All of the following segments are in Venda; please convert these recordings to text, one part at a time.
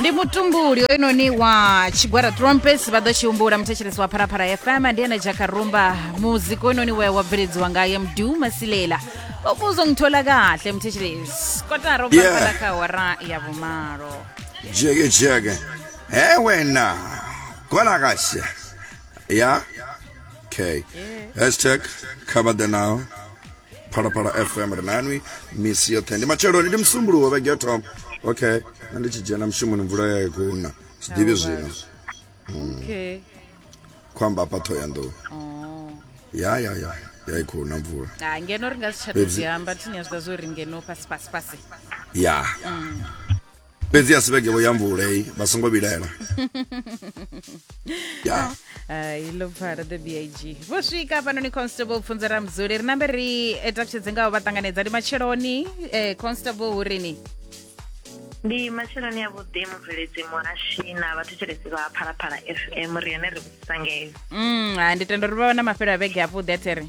Ndi mutumbuli oinoni wa tshigwada Trumpets, vha ḓo tshi humbula muthetshelesi wa Phalaphala FM, ndi ene Jakarumba. Muzika oinoni we wa bveledziwa ngaye Mdu Masilela. Uzongithola kahle muthetshelesi, kotara ubva fhaḽa kha awara ya vhumalo. Jeke jeke. He wena. Kwala kahle. Ya. Okay. Hashtag cover the now. Phalaphala FM ri nanwi misi yoṱhe. Ndi matsheloni, ndi Musumbuluwo vhege yo thoma. Okay. Nṋe ndi tshi dzhena mushumoni mvula ya i khou na. Si ḓivhi zwino. Okay. Khou amba hafha Ṱhohoyanḓou. Oh. Ya ya ya. Ya i khou na mvula. Ah, ngeno ri nga si tsha tou zwi amba, thini ya zwi ḓa zwo ri ngeno fhasi fhasi fhasi. Ya. Fhedzi a si vhege vho ya mvula heyi, vha songo vhilaela. Ya. Hai, ḽo pfala the big vho swika hafhanoni. Constable Pfunzo Ramdzuli, ri nambe ri takutshedze ngaho vha ṱanganedza. Ndi matsheloni, Constable, hurini? Ndi matsheloni a vhuḓi, mubveledzi muhashi na vhathetshelesi vha Phalaphala FM, ri hone ri vhudzisa ngeo. Ha, ndi tenda uri vha vha na mafhelo a vhege avhuḓi a there.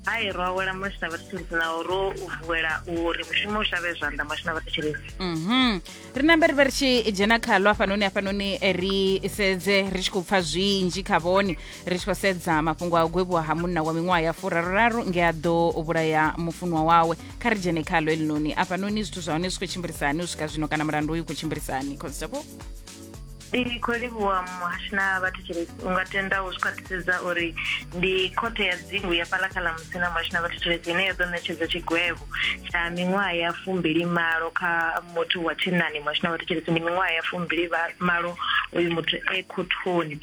Hai, ro awela musi na vhathetshelesi, naho ro u vuwela uri mushumo u shavhe zwanḓa musi na vhathetshelesi. Ri nambe ri vhe ri tshi dzhena khalo hafhanoni, hafhanoni ri sedze ri tshi khou pfa zwinzhi kha vhone, ri tshi khou sedza mafhungo a u gwevhiwa ha munna wa miṅwaha ya 33 nge a ḓo vhulaya mufunwa wawe. Kha ri dzhene khalo elinoni afhanoni, zwithu zwa hone zwi khou tshimbilisani u swika zwino, kana mulandu uyu u khou tshimbilisani, Constable? Ndi khou livhuwa muhashi na vhathetshelesi. U nga tenda u zwi khwaṱhisedza uri ndi khothe ya dzingu ya fhaḽa kha ḽa Musina muhashi na vhathetshelesi ine ya ḓo ṋetshedza tshigwevho tsha miṅwaha ya 28 kha muthu wa tshinnani muhashi na vhathetshelesi. Ndi miṅwaha ya 28 uyu muthu e khothoni,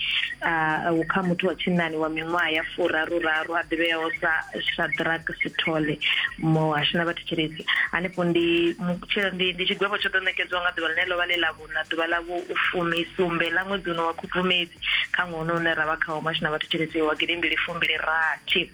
kha muthu wa tshinnani wa miṅwaha ya 33 a ḓivheaho sa Shadrack Sithole muhashi na vhathetshelesi. Hanefho ndi ndi tshigwevho tsho ḓo ṋekedzwa nga ḓuvha ḽine ḽo vha ḽi ḽa na ḓuvha ḽa vhu 17 ḽa ṅwedzi uno wa Khubvumedzi kha ṅwaha uno une ra vha khawo muhasho na vhathetshelesi wa 2026.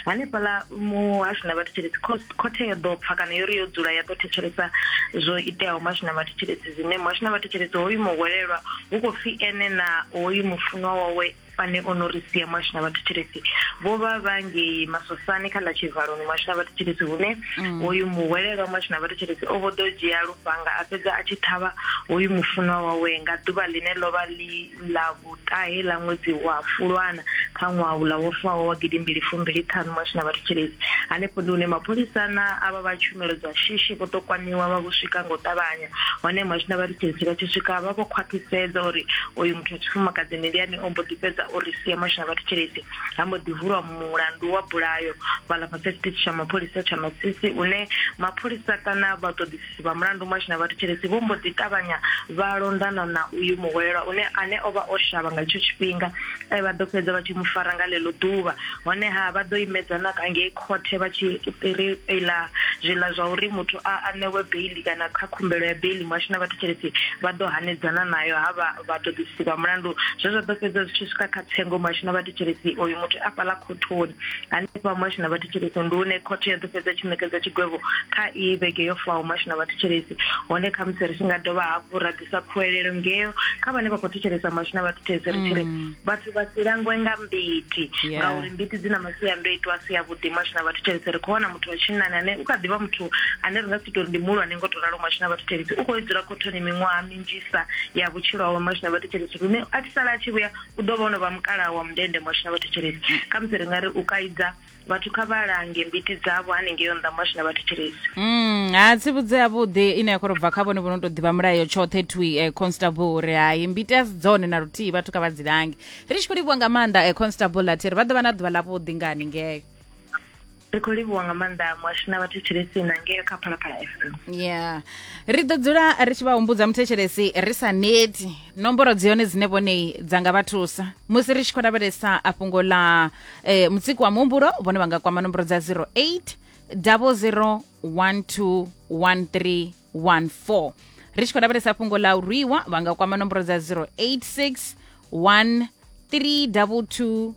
Hanefhaḽa muhasho na vhathetshelesi, khothe yo ḓo pfa kana yo ri yo dzula ya ḓo thetshelesa zwo iteaho muhasho na vhathetshelesi, zwine muhasho na vhathetshelesi hoyu muhwelelwa hu khou pfi ene na hoyu mufunwa wawe ane o no ri sia muhasho na vhathetshelesi vho vha vha ngei Masosani kha ḽa Tshivaloni muhasho na vhathetshelesi, hune hoyu muhwelelwa muhasho na vhathetshelesi o vho ḓo dzhia lufhanga a fhedza a tshi ṱhavha hoyu mufunwa wawe nga ḓuvha ḽine ḽo vha ḽi ḽa vhuṱahe ḽa ṅwedzi wa Fulwana kha ṅwaha uḽa wo faho wa 2025 muhasho na vhathetshelesi. Hanefho ndi hune mapholisa na avha vha tshumelo dza shishi vho ḓo kwamiwa vha vho swika nga u ṱavhanya, hone muhasho na vhathetshelesi vha tshi swika vha vho khwaṱhisedza uri uyu muthu wa tshifumakadzini ndi ane o mbo ḓi fhedza u ri sia muhasho na vhathetshelesi. Ha mbo ḓi vulwa mulandu wa bulayo fhaḽa fhasi ha tshiṱitshi tsha mapholisa tsha Masisi, une mapholisa kana vhaṱoḓisisi vha mulandu muhasho na vhathetshelesi vho mbo ḓi ṱavhanya vha londana na uyu muhwelelwa une ane o vha o shavha nga itsho tshifhinga. Vha ḓo fhedza vha tshi mu fara nga ḽeḽo ḓuvha, honeha vha ḓo imedzana ka ngei khothe vha tshi ri iḽa zwiḽa zwa uri muthu a ṋewe beiḽi kana kha khumbelo ya beiḽi muhasho na vhathetshelesi vha ḓo hanedzana nayo ha vha vhaṱoḓisisi vha mulandu, zwe zwa ḓo fhedza zwi tshi swika kha tsengo muhasho na vhathetshelesi oyu muthu a fhaḽa khothoni. Hanefha muhasho na vhathetshelesi ndi hune khothe ya ḓo fhedza tshi ṋekedza tshigwevho kha iyi vhege yo faho muhasho na vhathetshelesi. Hone khamusi ri tshi nga dovha hafhu ra ḓisa khuwelelo ngeo kha vhane vha khou thetshelesa muhasho na vhathetshelesi, ri tshi ri vhathu vha si langwe nga mbiti, ngauri mbiti dzi na masiandoitwa a si avhuḓi muhasho na vhathetshelesi. Ri khou wana muthu wa tshinnani ane u kha ḓivha muthu ane ri nga si tou ri ndi muhulwane ngo to ralo muhasho na vhathetshelesi, u khou dzula khothoni miṅwaha minzhisa ya vhutshilo hawe muhasho na vhathetshelesi, lune a tshi sala a tshi vhuya u ḓo vha o no vha mukalaha wa mundende muhasho na vhathetshelesi. Khamusi ri nga ri u kaidza vhathu kha vha lange mbiti dzavho hanengei nnḓa muhasho na vhathetshelesi. Ha tsivhudzo yavhuḓi ine ya khou tou bva kha vhone vho no tou ḓivha mulayo tshoṱhe twi, Constable, uri hai, mbiti a si dzone na luthihi, vhathu kha vha dzi lange. Ri tshi khou livhuwa nga maanḓa, Constable Lathiri, vha ḓo vha na ḓuvha ḽavhuḓi nga haningei. Ri khou livhuwa nga maanḓa muhasho na vhathetshelesi na ngeo kha Phalaphala FM. Yeah, ri ḓo dzula ri tshi vha humbudza muthetshelesi ri sa neti nomboro dzi hone dzine vhonei dza nga vha thusa musi ri tshi khou lavhelesa a fhungo ḽa mutsiko wa muhumbulo. Vhone vha nga kwama nomboro dza 08 00 12 13 14. Ri tshi khou lavhelesa fhungo ḽa u rwiwa, vha nga kwama nomboro dza 086 1 322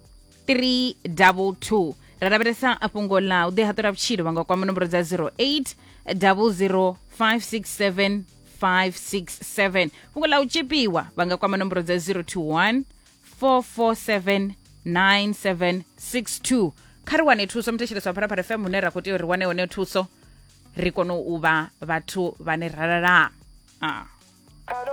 322. Ra lavhelesa fhungo ḽa u ḓihaṱula vhutshilo, vha nga kwama nomboro dza 08 00 567 567. Fhungo ḽa u tshipiwa, vha nga kwama nomboro dza 021 447 9762. Kha ri wane thuso muthetshelesi wa Phalaphala FM, hune ra khou tea uri ri wane hone thuso, ri kone u vha vhathu vhane ra lala. Ah.